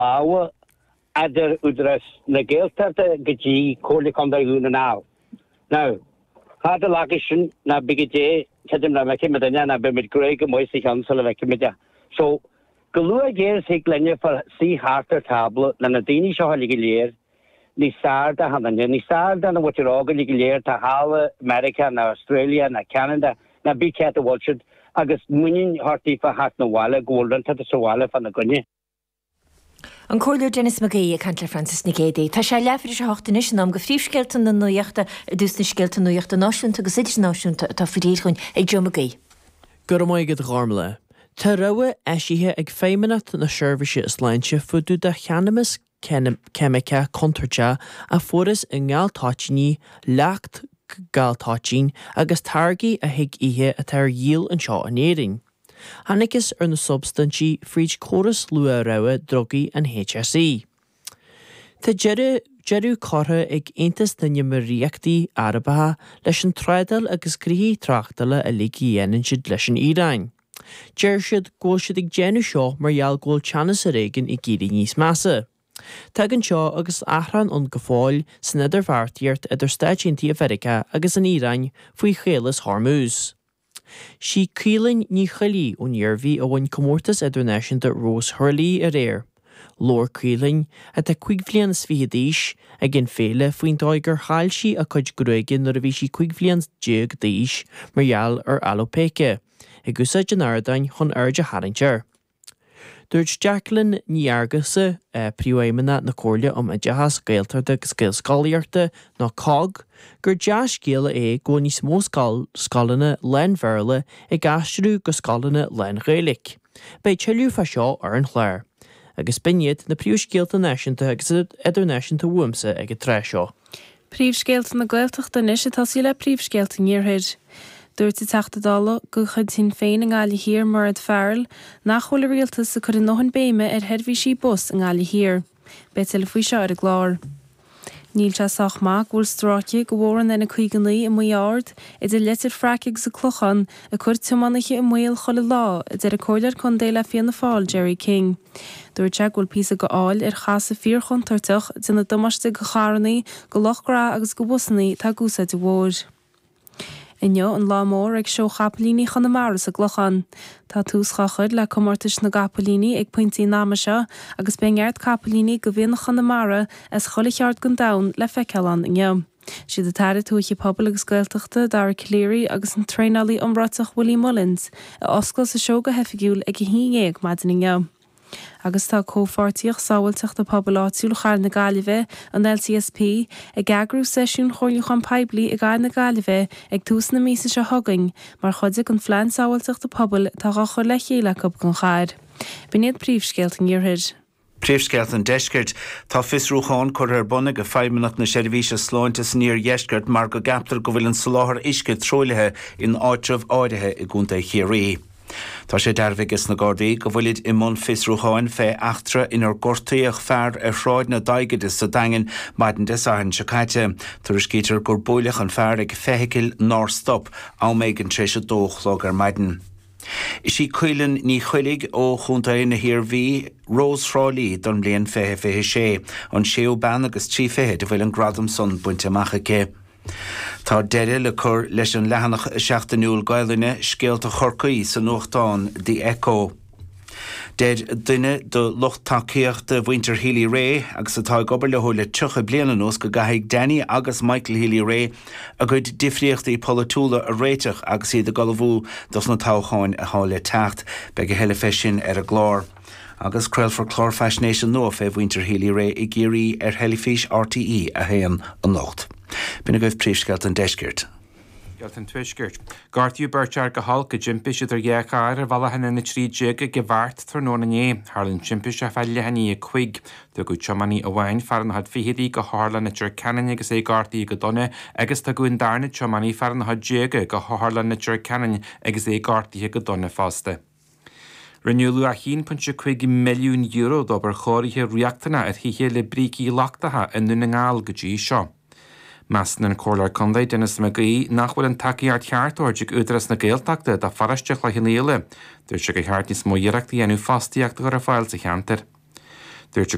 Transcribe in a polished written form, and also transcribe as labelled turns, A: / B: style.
A: Lámha idir Údarás na Gaeltachta go dtí Comhairle Contae Dhún na nGall. Now, cad a fhágfaidh sin ná bí go dé, creidim nach bhfeicfidh muid duine ná beidh muid gnoitheach go maith sa cheann sula bhfeicfidh muid é. So, go luath géar is thig linne fáil suí thart ar tábla le na daoine seo uilig go léir, níos fearr d'achan duine, níos fearr do na mhuintir óg uilig go léir atá thall i Meiriceá ná Australia ná Ceanada ná bí cé áit a bhfuil siad agus muinín a thabhairt daofa theacht 'na bhaile go bhfuil rud inteacht sa bhaile fá na gcoinne.
B: An Comhairleoir Denis Mac Aoidh ag caint le Francis Nic Géadaigh. Tá sé leathuair tar éis a hocht anois, in am do phríomhscéalta na nuachta, ar dtús na scéalta nuachta náisiúnta agus idirnáisiúnta atá faoi réir dhúinn ag Joe Mac Aoidh.
C: Go raibh maith agat a Ghormlaith. Tá rabhadh eisithe ag Feidhmeannacht na Seirbhíse Sláinte fá dtaobh de cheannamas ceimiceach contúirteach a fuarthas i ngaltoitíní, leacht galtoitín agus táirgí a thig ithe atá ar dhíol anseo in Éirinn. Thángthas ar na substaintí fríd córas luath-rabhadh drugaí an HSE. Tá deireadh curtha ag Aontas na nÉimíríochtaí Arabacha leis an trádáil agus gnoithí tráchtála uilig a dhéanann siad leis an Iaráin. Deir siad go bhfuil siad ag déanamh seo mar gheall go bhfuil teannas ar éigean ag éirí níos measa. Tagann seo agus achrann ann go fóill san idirbheartaíocht idir Stáit Aontaithe Mheiriceá agus an Iaráin faoi Chaolas Hormuz. Sí Caoilinn Ní Choiligh ón Iarmhí a bhain comórtas idirnáisiúnta Rós Thraí aréir. Labhair Caoilinn, atá 25 bhliain is d'aois, ag an féile faoin dóigh gur chaill sí a cuid gruaige nuair a bhí sí 15 bhliain d'aois mar gheall ar alóipéice, ag úsáid an ardáin chun aird a tharraingt air. Dúirt Jacqueline Ní Fhearghusa, Príomhfheidhmeannach na Comhairle um Oideachas Gaeltachta agus Gaelscolaíochta, nó cogg, gur dea-scéala é go bhfuil níos mó scoileanna lán-Bhéarla ag aistriú go scoileanna lán-Ghaeilge. Beidh tuilleadh fá seo ar an chlár. Agus b'in iad na príomhscéalta náisiúnta agus idirnáisiúnta uaimse ag an tráth seo.
D: Príomhscéalta na Gaeltachta anois ag tosaí le príomhscéalta an Iarthair. Dúirt an Teachta Dála de chuid Shinn Féin i nGaillimh Thiar, Mairéad Farrell, nach bhfuil an Rialtas ag cur a ndóthain béime ar sheirbhísí bus i nGaillimh Thiar. Beidh tuilleadh faoi seo ar an gclár. Níl sé sách maith go bhfuil stráice de bhóthar an N59 i Maigh Ard, idir Leitir Fraic agus an Clochán, ag cur tiománaithe i mbaol chuile lá, a deir an Comhairleoir Contae le Fianna Fáil, Gerry King. Dúirt sé go bhfuil píosa go fháil ar chasadh fíorchontúirteach, ag déanamh damáiste go charrannaí, go lucht graithe agus go bhusannaí atá ag úsáid an bhóthair. Inniu an lá mór ag Seó Chapaillíní Chonamara sa gClochán. Tá tús dhá chur le comórtais na gcapaillíní ag pointí an ama seo agus beidh neart capaillíní de mhianach Chonamara as chuile cheard den domhan le feiceáil ann inniu. Siad an tAire Tuaithe Pobail agus Gaeltachta, Dara Calleary agus an traenálaí iomráiteach Willie Mullins a osclós an seó go hoifigiúil ag a haon dhéag maidin inniu. Agus tá Comhpháirtíocht Sábháilteachta Pobail Áitiúil Chathair na Gaillimhe, an LCSP, ag eagrú seisiún chomhairliúcháin poiblí i gCathair na Gaillimhe ag tús na míosa seo chugainn mar chuid den Phlean Sábháilteachta Pobail atá dhá chur le chéile acu don chathair. B'in iad príomhscéalta an Iarthair.
E: Príomhscéalta an Deiscirt. Tá fiosrúchán curtha ar bun ag Feidhmeannacht na Seirbhíse Sláinte san Iardheisceart mar go gceaptar go bhfuil an soláthar uisce truaillithe in áitribh áirithe i gContae Chiarraí. Tá sé dearbhaithe ages na Gardaí go bhfuilid i mbun fiosrúcháin fé eachtra inar gortaíodh fear ar Shráid na Daighide sa Daingean maidin Dé Sathairn seo caite. Tuairiscítear gur buaileadh an fear ag feithicil nár stop, am éigin tar éis a dó a chlog ar maidin. Is í Caoilinn Ní Choiligh ó Chontae na hIarmhí Rós Thrá Lí don mbliain 2026, an séú bean agus 3 fichid a bhfuil an gradam san bainte amach aici. Tá deireadh le cur leis an leathanach seachtainiúil Gaelainne, Scéalta Chorcaí, sa nuachtán The Echo. Deir duine de lucht tacaíochta mhuintir Healy-Rae agus atá ag obair leo le 30 bliain anuas go gcaithfidh Danny agus Michael Healy-Rae a gcuid difríochtaí polaitiúla a réiteach agus iad ag ullmhú dos na toghcháin atá le teacht. Beidh a thuilleadh fé sin ar an gclár. Agus craolfar clár faisnéise nua fé mhuintir Healy-Rae i gCiarraí ar theilifís RTÉ 1 anocht. B'in agaibh príomhscéalta an deiscirt.
F: Scéalta an Tuaiscirt. Gortaíodh beirt fhear go holc i dtimpiste idir dhá charr ar bhealach an N13 ag an Bheart tráthnóna inné. Tharla an timpiste fá leath i ndiaidh a 5. Tugadh tiománaí amháin, fear ina chuid fichidí, go hOtharlann Leitir Ceanainn agus é gortaithe go dona agus tugadh an darna tiománaí, fear ina chuid déaga, go hOtharlann Leitir Ceanainn agus é gortaithe go dona fosta. Rinneadh luach €1.5 milliún d'obair chóirithe riachtanach ar thithe le brící lochtacha i nDún na nGall go dtí seo. Measann an Comhairleoir Contae Denis Mac Aoidh nach bhfuil an tacaíocht cheart á thabhairt ag Údarás na Gaeltachta do pharóiste Chloich Cheann Fhaola. Dúirt sé gur cheart níos mó iarrachta a dhéanamh fostaíocht a chur ar fáil sa cheantar. Dúirt.